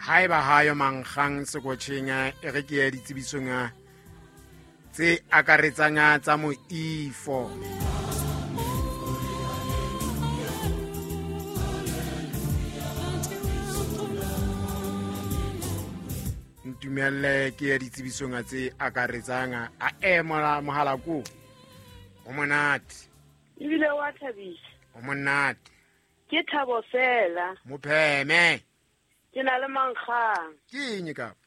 Haeba hayo mankgang sekotjheng, e re ke ye ditsebisong tse akaretsang tsa moifo. Ntumelle ke ye ditsebisong tse akaretsang. A emola mohala ko o monate. Ebile wa thabisa. O monate. Ke thabo fela. Mopheme. Ke na le mankgang. Ke eng kapa?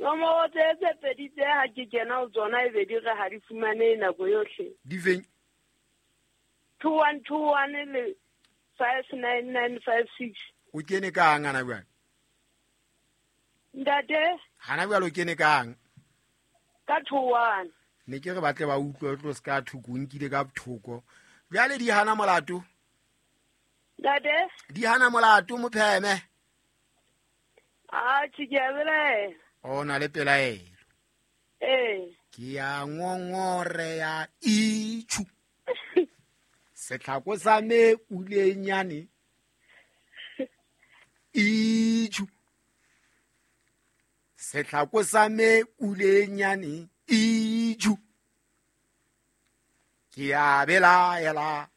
Nomoro tse pedi tse ha ke kena ho tsona e be di re ha di fumane nako yohle. Di feng? 2121 le 59956. O kene kang ana jwale? Ntate? Hana jwale o kene kang? Ka 21. Ne ke re batle ba utlwe tlo ska thoko, o nkile ka thoko. Jwale di hana molato? Ntate? Di hana molato mopheme. Ah, ke a belaela. O na le pelaelo. Ee. Ke ya ngongore ya itjhu. Setlhako sa me ulenyane. Itjhu. Setlhako sa me ulenyane. Itjhu. Ke ya belaela.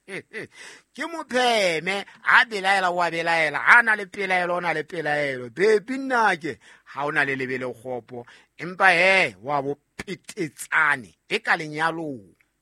Ke mopheme a belaela wa belaela, ha na le pelaelo o na le pelaelo. Baby nnake ha o na le lebele kgopo, empa he wa bo petetsane e ka lenyalong.